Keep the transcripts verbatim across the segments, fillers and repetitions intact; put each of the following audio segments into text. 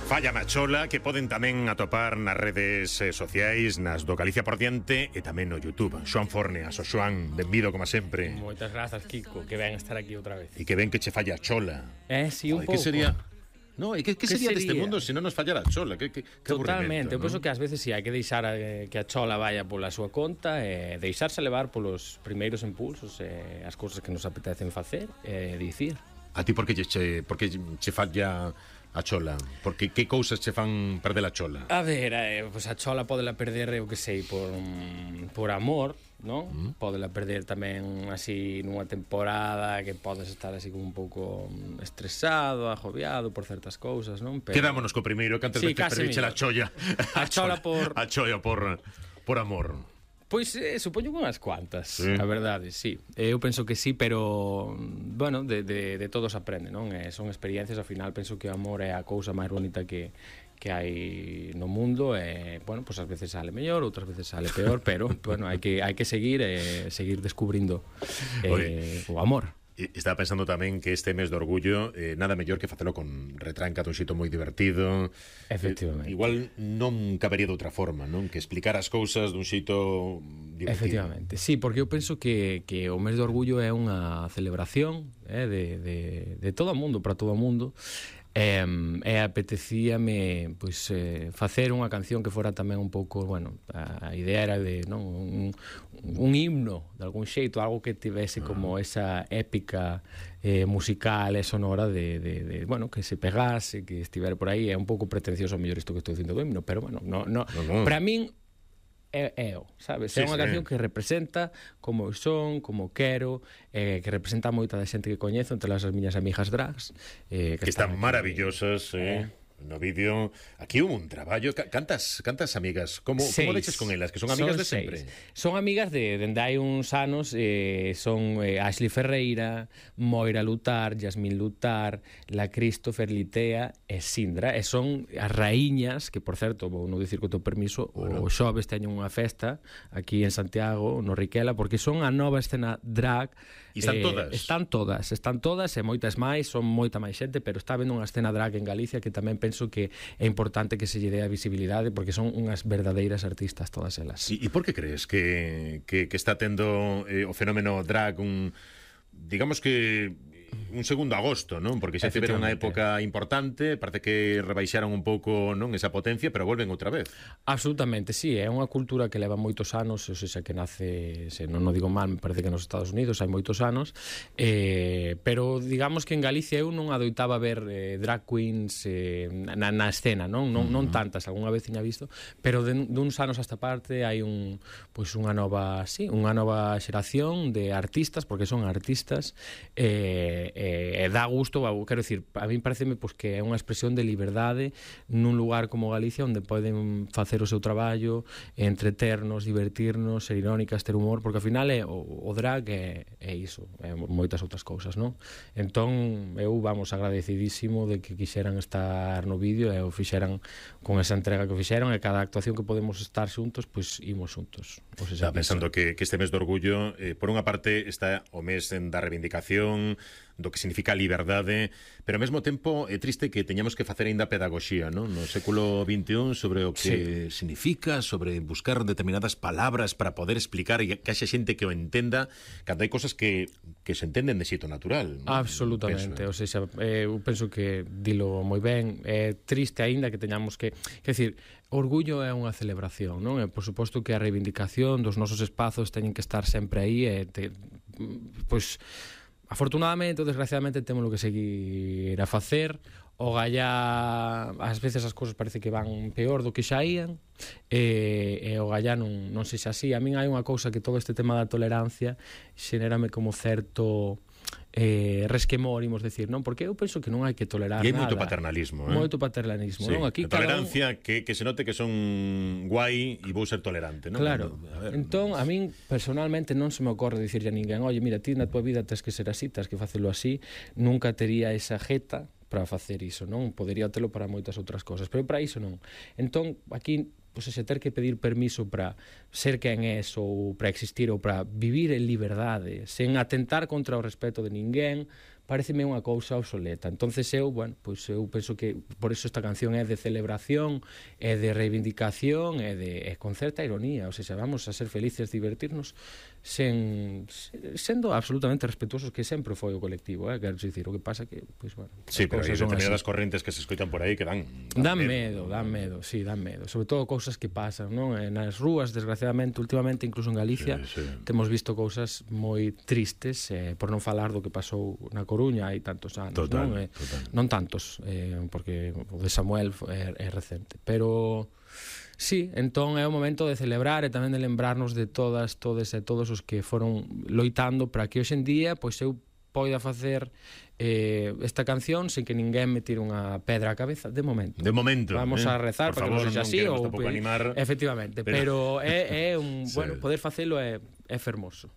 Falla Machola, que poden tamén atopar nas redes eh, sociais, nas do Galicia por diante e tamén no YouTube. Xoan Forneas, o Xoan, benvido como sempre. Moitas grazas, Kiko, que ven estar aquí outra vez. E que ven que che falla a chola. Eh, si, sí, un Joder, pouco. Que sería... No, e que, que, que sería, sería deste mundo se non nos fallara a chola? Que, que, que Totalmente, eu ¿no? penso que ás veces si sí, hai que deixar eh, que a chola vaya pola súa conta e eh, deixarse levar polos primeiros impulsos e eh, as cousas que nos apetecen facer e eh, dicir. A ti por que che, por que che falla a chola? Porque que cousas che fan perder a chola? A ver, eh, pues a chola podela perder, eu que sei, por, por amor, non? Mm. Podela perder tamén así nunha temporada que podes estar así como un pouco estresado, agobiado por certas cousas, non? Pero... Quedámonos co primeiro, que antes sí, de perderche a cholla. A chola por... A chola por, por amor. Pois, eh, supoño que unhas cuantas, sí. A verdade, sí. Eu penso que sí, pero, bueno, de, de, de todos aprende, non? Eh, son experiencias, ao final, penso que o amor é a cousa máis bonita que, que hai no mundo e, bueno, pues ás veces sale mellor, outras veces sale peor, pero, bueno, hai que, hai que seguir e eh, seguir descubrindo eh, o amor. Estaba pensando tamén que este mes de orgullo eh, nada mellor que facelo con retranca dun xeito moi divertido. Efectivamente. Eh, igual non cabería de outra forma, non? Que explicar as cousas dun xeito divertido. Efectivamente, sí, porque eu penso que, que o mes de orgullo é unha celebración eh, de, de, de todo o mundo, para todo o mundo. E, e apetecíame pois, eh, facer unha canción que fora tamén un pouco, bueno, a, a idea era de, non, un, un himno de algún xeito, algo que tivese como esa épica eh, musical e sonora de, de, de, bueno, que se pegase, que estivera por aí. É un pouco pretencioso a mellor isto que estou dicindo do himno, pero bueno, no, no, no, no. Para min é, é o, sabes? Sí, é unha sí. canción que representa como son, como quero, eh, que representa moita da xente que coñezo, entre as miñas amigas drags, eh, que, que están, están maravillosas, eh. eh. No vídeo, aquí hubo un traballo. Cantas, cantas amigas, como, como leches con elas? Que son amigas son de sempre? Son amigas de dende hai uns anos, eh, son eh, Ashley Ferreira, Moira Lutar, Yasmín Lutar, La Christopher Litea e Sindra, e son as raíñas, que por certo, vou non dicir co teu permiso, bueno. O xoves teñen unha festa aquí en Santiago, no Riquela, porque son a nova escena drag. E están eh, todas? Están todas, están todas, e moitas máis, son moita máis xente, pero está vendo unha escena drag en Galicia que tamén penso que é importante que se lle dé a visibilidade, porque son unhas verdadeiras artistas todas elas. E, e por que crees que, que, que está tendo eh, o fenómeno drag un, digamos que un segundo agosto, non? Porque xa tiveron unha época importante, parece que rebaixaron un pouco, non, esa potencia, pero volven outra vez. Absolutamente, sí, é unha cultura que leva moitos anos, ou seja, que nace, se non o digo mal, me parece que nos Estados Unidos hai moitos anos, eh, pero digamos que en Galicia eu non adoitaba ver eh, drag queens eh, na, na escena, non? Non, non tantas, algunha vez tiña visto, pero de, duns anos hasta parte hai un, pois unha nova, sí, unha nova xeración de artistas, porque son artistas, eh, e eh, dá gusto, quero dicir, a mí pareceme pois, que é unha expresión de liberdade nun lugar como Galicia onde poden facer o seu traballo, entreternos, divertirnos, ser irónicas, ter humor, porque ao final é, o, o drag é, é iso, é moitas outras cousas, non? Entón, eu, vamos, agradecidísimo de que quixeran estar no vídeo e o fixeran con esa entrega que fixeron, e cada actuación que podemos estar xuntos, pois imos xuntos. Pois está pensando que, que este mes de orgullo, eh, por unha parte está o mes da reivindicación, do que significa a liberdade, pero ao mesmo tempo é triste que teñamos que facer aínda pedagogía, non? No século vinte e un sobre o que sí. significa, sobre buscar determinadas palabras para poder explicar e que haxa xente que o entenda, cando hai cosas que, que se entenden de xeito natural, non? Absolutamente, penso, eh? O sea, eu penso que dilo moi ben, é triste aínda que teñamos que, quer decir, orgullo é unha celebración, non? E por suposto que a reivindicación dos nosos espazos teñen que estar sempre aí e te, pois afortunadamente ou desgraciadamente temos que seguir a facer. O gallá, ás veces as cousas parece que van peor do que xa ían, e, e o gallá non, non sei se así. A min hai unha cousa que todo este tema da tolerancia xenérame como certo eh, resquemor, imos decir, non? Porque eu penso que non hai que tolerar nada. E hai moito paternalismo, eh? Moito paternalismo, sí. non? Aquí a tolerancia, un... que, que se note que son guai e vou ser tolerante, non? Claro. A ver, entón, a min, personalmente, non se me ocorre dicirlle a ninguén, oye, mira, ti na tua vida tens que ser así, tens que facelo así. Nunca tería esa jeta para facer iso, non? Podería telo para moitas outras cousas, pero para iso non. Entón, aquí, pois, ese ter que pedir permiso para ser quen és ou para existir ou para vivir en liberdade, sen atentar contra o respeto de ninguén, pareceme unha cousa obsoleta. Entonces eu, bueno, pois eu penso que por eso esta canción é de celebración, é de reivindicación, é de é con certa ironía, ou sea, vamos a ser felices, divertirnos sen sendo absolutamente respetuosos, que sempre foi o colectivo, eh, quero dicir, o que pasa que, pois, bueno, sí, pero hai determinadas correntes que se escoitan por aí que dan dan, dan medo, dan medo, sí, dan medo, sobre todo cousas que pasan, non? Nas rúas, desgraciadamente, últimamente, incluso en Galicia, sí, sí. temos visto cousas moi tristes, eh, por non falar do que pasou na Coruña hai tantos anos, total, non? Eh, total. Non tantos, eh, porque o de Samuel é, é recente, pero sí, entón é o momento de celebrar e tamén de lembrarnos de todas, todos e todos os que foron loitando para que hoxe en día pois eu poida facer eh, esta canción sen que ninguén me tire unha pedra á cabeza, de momento. De momento. Vamos eh? a rezar por para favor, que non sexa así ou tampouco animar. Efectivamente, pero, pero é, é un, sí. bueno, poder facelo é, é fermoso.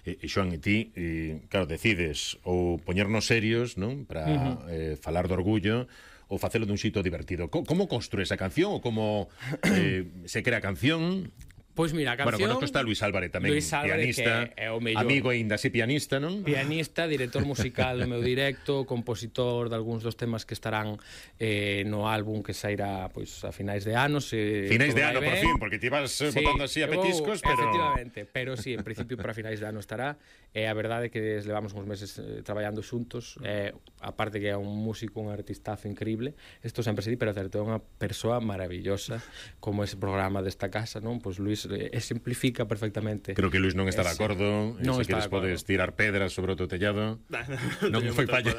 E, e Xoan, e ti, e, claro, decides ou poñernos serios, non? Para uh-huh. eh, falar do orgullo ou facelo dun xito divertido. Co como construe esa canción ou como eh, se crea a canción? Pois mira, a canción... Bueno, conozco está Luis Álvarez tamén, Luis Álvarez, pianista, é o mellor. amigo e ainda así pianista, non? Pianista, director musical do meu directo, compositor de algúns dos temas que estarán eh, no álbum que sairá pois a finais de anos. Eh, finais de ano, por fin, porque te ibas eh, sí, botando así a petiscos, oh, pero... Efectivamente, pero sí, en principio para finais de ano estará. E a verdade é que levamos uns meses eh, traballando xuntos, eh, aparte que é un músico, un artistazo increíble, isto sempre se di, pero certo, é unha persoa maravillosa, como ese programa desta casa, non? Pois Luis eh, exemplifica perfectamente. Creo que Luis non está de acordo, non se queres podes tirar pedras sobre o teu tellado. Non foi falla.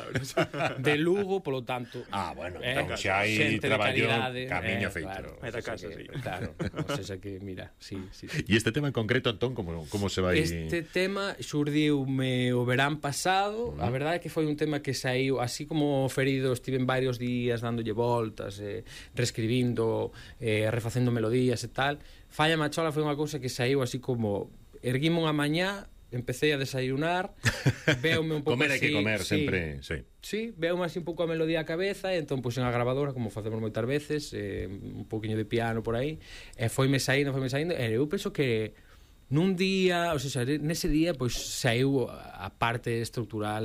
De Lugo, polo tanto. Ah, bueno, eh, entón xa hai traballo, camiño eh, feito. Claro, é da casa, sí. Claro, o sea que, mira, sí, sí, sí. E este tema en concreto, Antón, como, como se vai... Este tema xurdiume o verán pasado, uh-huh. A verdade é que foi un tema que saiu, así como ferido, estive en varios días dándolle voltas, eh, reescribindo, eh, refacendo melodías e tal. Falla Machola foi unha cousa que saiu así como erguime unha mañá, empecé a desayunar, veume un pouco comer así... hai que comer, sí, sempre, sí. Sí, veume así un pouco a melodía a cabeza, e entón puxen a grabadora, como facemos moitas veces, eh, un pouquiño de piano por aí, e foime saindo, foime saindo, e eu penso que nun día, ou sea, nese día pois saiu a parte estrutural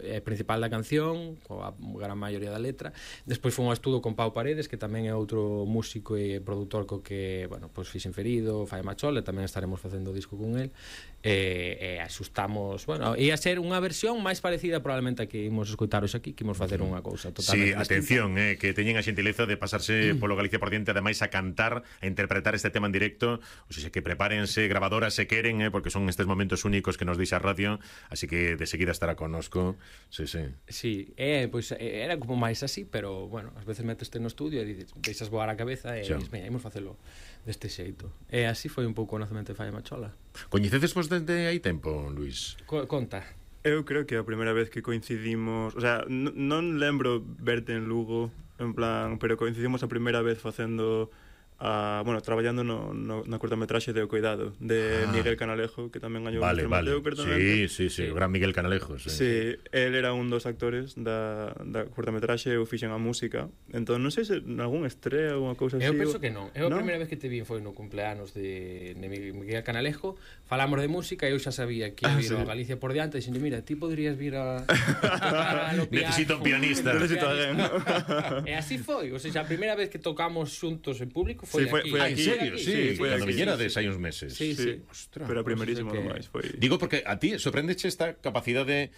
eh, principal da canción, coa gran maioría da letra. Despois foi un estudo con Pau Paredes, que tamén é outro músico e produtor co que, bueno, pois Fixen Ferido, Falla Machola, tamén estaremos facendo o disco con el. E, e asustamos, bueno, ia ser unha versión máis parecida probablemente a que imos escoitar hoxe aquí, que imos facer unha cousa Sí, totalmente atención, eh, que teñen a xentileza de pasarse mm. polo Galicia por diante, ademais a cantar, a interpretar este tema en directo, ou sea, que prepárense grabadoras se queren, eh, porque son estes momentos únicos que nos deixa a radio, así que de seguida estará connosco. Sí, sí. Sí, eh, pois pues, era como máis así, pero bueno, ás veces meteste no estudio e dices, deixas voar a cabeza e dices, veña, imos facelo deste xeito. E así foi un pouco o nacemento de Falla Machola. Coñecedes vos desde hai tempo, Luis? Co conta. Eu creo que a primeira vez que coincidimos, o sea, non lembro verte en Lugo, en plan, pero coincidimos a primeira vez facendo a, bueno, traballando no, no, na curtametraxe de O Cuidado de ah. Miguel Canalejo, que tamén gañou vale, o vale. Mateo, sí, sí, sí, sí, o gran Miguel Canalejo, sí. Sí, el era un dos actores da, da curtametraxe, eu fixen a música. Entón, non sei se algún estrea ou unha cousa así. Eu penso que non. Eu a ¿no? primeira vez que te vi foi no cumpleanos de, de Miguel Canalejo. Falamos de música e eu xa sabía que ia vir ah, sí. a Galicia por diante, dixendo, mira, ti podrías vir a tocar a lo piano. Necesito un pianista. Necesito alguén. E así foi, o sea, a primeira vez que tocamos xuntos en público foi sí, foi, aquí. Foi ah, en serio? aquí. Sí, sí, foi cando aquí, viñerades sí, sí. hai uns meses. Sí, sí. Ostras, pero a primerísimo que... máis foi. Digo porque a ti sorprendeche esta capacidade,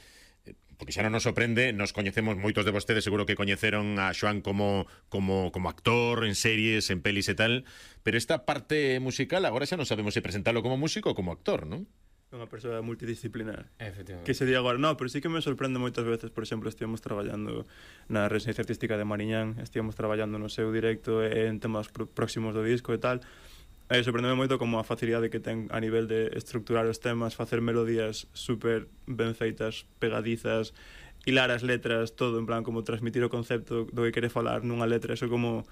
porque xa non nos sorprende, nos coñecemos moitos de vostedes, seguro que coñeceron a Xoan como, como, como actor en series, en pelis e tal, pero esta parte musical agora xa non sabemos se presentalo como músico ou como actor, non? Unha persoa multidisciplinar. Efectivamente. Que se di agora, no, pero sí que me sorprende moitas veces, por exemplo, estivemos traballando na residencia artística de Mariñán, estivemos traballando no seu directo e en temas pr próximos do disco e tal. E sorprendeme moito como a facilidade que ten a nivel de estructurar os temas, facer melodías super ben feitas, pegadizas, hilar as letras, todo en plan como transmitir o concepto do que quere falar nunha letra, eso como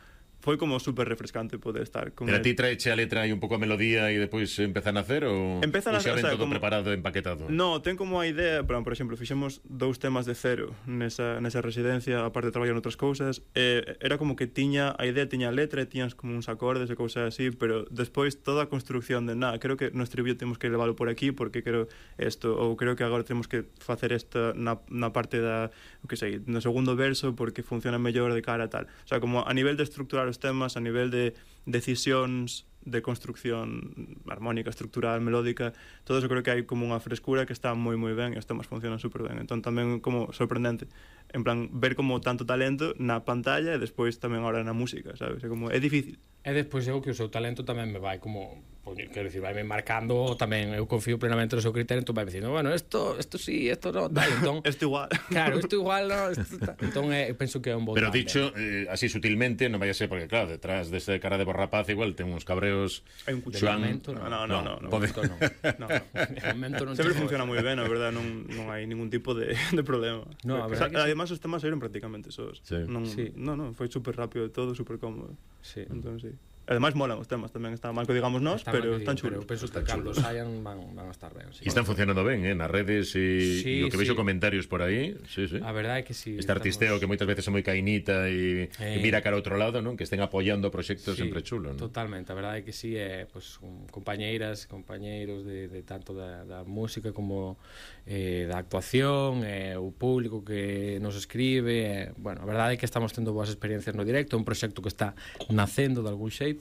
foi como super refrescante poder estar con Pero a el. ti traeche a letra e un pouco a melodía e depois empeza a nacer ou Empezan ou a- xa o ven sea, todo como- preparado e empaquetado? No, ten como a idea, pero, por exemplo, fixemos dous temas de cero nesa, nesa residencia, aparte de traballar noutras cousas, e era como que tiña, a idea tiña a letra e tiñas como uns acordes e cousas así, pero despois toda a construcción de, nada, creo que no estribillo temos que leválo por aquí porque creo isto, ou creo que agora temos que facer esta na, na parte da, o que sei, no segundo verso porque funciona mellor de cara a tal. O sea, como a nivel de estructurar os temas, a nivel de decisións de construcción armónica, estructural, melódica, todo eso creo que hai como unha frescura que está moi moi ben e os temas funcionan super ben. Entón tamén como sorprendente, en plan, ver como tanto talento na pantalla e despois tamén ahora na música, sabes? É como, é difícil. E despois eu que o seu talento tamén me vai como, pois, quero dicir, vai me marcando tamén, eu confío plenamente no seu criterio, entón vai dicindo, bueno, esto, esto sí, esto no, tal, entón... Esto igual. Claro, isto igual, no, esto tal. Entón eh, penso que é un bo Pero tándem. dicho eh, así sutilmente, non vai a ser porque claro, detrás deste cara de borrapaz igual ten uns cabreos. Hai un De cuchillo. Xoan- lamento, No, no, no, no, no. pode- Momento non. No. De momento non Sempre chego. funciona moi ben, a verdade, non, non hai ningún tipo de, de problema. No, a O verdade sea, que sí. además os temas eran prácticamente esos. Sí. Non, Sí. no, no, foi super rápido todo, super cómodo. Sí. Entón, sí. Ademais molan os temas, tamén está mal que digamos nós, Está pero mal que están digo, chulos. Pero penso que Están cando chulos. saian van, van a estar ben. Sí. E están funcionando ben, eh, nas redes e, Sí, e o que vexo sí. comentarios por aí, sí, sí. A verdade é que si. Este artisteo que moitas veces é moi cainita e, Eh. e mira cara a outro lado, non? Que estén apoiando proxectos Sí, sempre chulo, non? Totalmente, a verdade é que sí, é pues, un, compañeiras, compañeiros de, de tanto da, da música como eh, da actuación, eh, o público que nos escribe, eh, bueno, a verdade é que estamos tendo boas experiencias no directo, é un proxecto que está nacendo de algún xeito,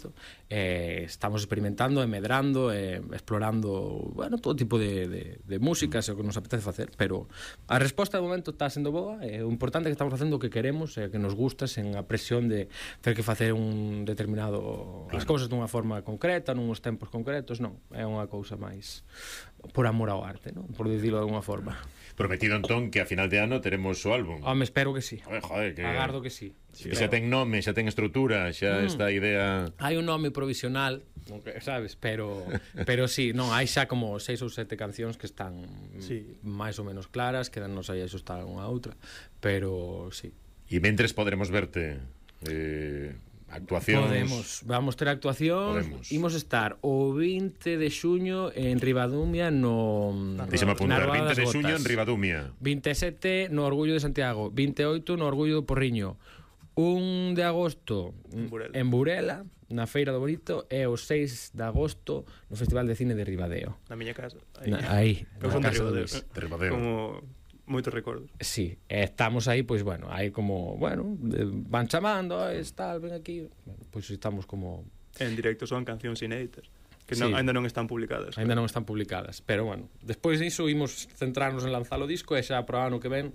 eh, estamos experimentando e medrando e explorando, bueno, todo tipo de, de, de músicas, é o que nos apetece facer, pero a resposta de momento está sendo boa, e o importante é que estamos facendo o que queremos e que nos gusta sen a presión de ter que facer un determinado as cousas dunha forma concreta, nuns tempos concretos, non, é unha cousa máis por amor ao arte, non? Por dicilo de alguna forma. Prometido entón que a final de ano teremos o álbum. Home, espero que sí. Joder, joder, que Agardo que sí. que xa ten nome, xa ten estrutura, xa Mm. esta idea. Hai un nome provisional, aunque, sabes, pero pero sí, non, hai xa como seis ou sete cancións que están Sí. máis ou menos claras, quedannos aí a xustar unha a outra, pero sí. E mentres poderemos verte eh, actuacións. Podemos, vamos ter actuacións. Podemos. Imos estar o vinte de xuño en Ribadumia no Deixame apuntar, na Roda vinte das de xuño Gotas. en Ribadumia. vinte e sete no Orgullo de Santiago, vinte e oito no Orgullo do Porriño, un de agosto En Burela. en Burela, na Feira do Bonito, e o seis de agosto no Festival de Cine de Ribadeo. Na miña casa. Na, aí, Eu na son de casa do Ribadeo. Luis. De Ribadeo. Como moitos recordos. Sí, e estamos aí, pois, bueno, aí como, bueno, de- van chamando, "Ai, tal, ven aquí", bueno, pois estamos como... En directo son cancións inéditas que Sí. non, ainda non están publicadas. Ainda non están publicadas, pero bueno, despois diso imos centrarnos en lanzar o disco e xa pro ano que ven,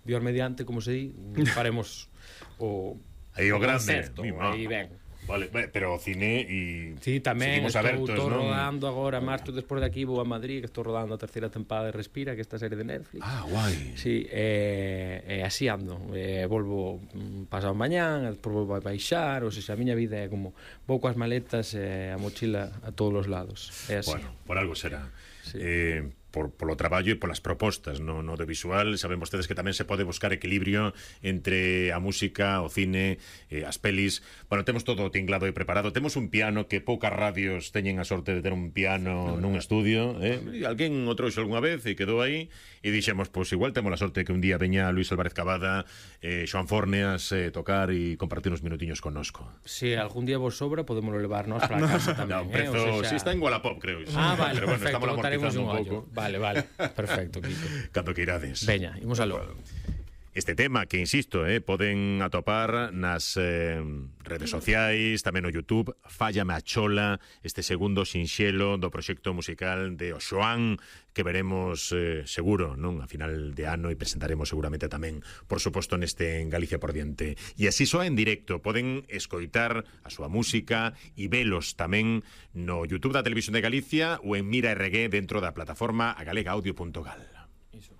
Dios mediante, como se di, faremos o Aí o grande, concerto, mi má. aí ben. Vale, ben, pero o cine e Sí, tamén seguimos estou, abertos, estou non? rodando agora, marzo despois de aquí vou a Madrid, que estou rodando a terceira tempada de Respira, que é esta serie de Netflix. Ah, guai. Sí, e, e así ando, e volvo mm, pasado mañán, despois volvo a baixar, ou seja, a miña vida é como vou coas maletas e a mochila a todos os lados, é así. Bueno, por algo será. Sí. Eh, por polo traballo e polas propostas no, no audiovisual, saben vostedes que tamén se pode buscar equilibrio entre a música, o cine, eh, as pelis. Bueno, temos todo tinglado e preparado. Temos un piano que poucas radios teñen a sorte de ter un piano nun estudio, eh? E alguén o trouxo algunha vez e quedou aí e dixemos, pois igual temos a sorte que un día veña Luis Álvarez Cavada, eh, Xoan Forneas eh, tocar e compartir uns minutiños connosco. Se algún día vos sobra, podemos levarnos para casa tamén, No, un eh? prezo, O si sea, está en Wallapop, creo. Sí. Ah, vale, pero bueno, perfecto, estamos botaremos amortizando un un ollo. pouco. Vale, vale, perfecto, Kiko. Cando que irades. Veña, imos aló. Este tema que, insisto, eh, poden atopar nas eh, redes sociais, tamén no YouTube, Fállame a Chola, este segundo sinxelo do proxecto musical de O Xoan, que veremos eh, seguro, non, a final de ano e presentaremos seguramente tamén, por suposto, neste en Galicia por diante. E así soa en directo, poden escoitar a súa música e velos tamén no YouTube da Televisión de Galicia ou en Mira R G dentro da plataforma agalegaudio punto gal. Iso.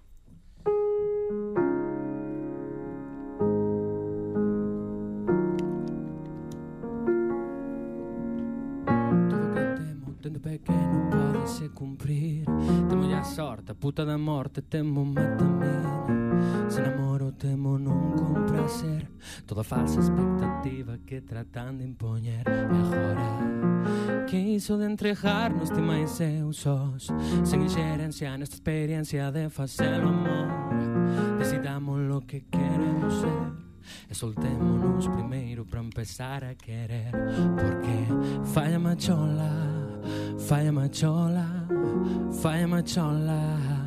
Todo que temo, tendo pequeno, pódese cumprir. Temo ya sorte, a puta da morte, temo metamina. Se namoro, temo non comprar. a ser toda falsa expectativa que tratan de impoñer. E agora que iso de entregarnos ti máis eu sós, sen inxerencia nesta experiencia de facelo amor, decidamos lo que queremos ser e soltémonos primeiro para empezar a querer. Porque falla machola, falla machola, falla machola.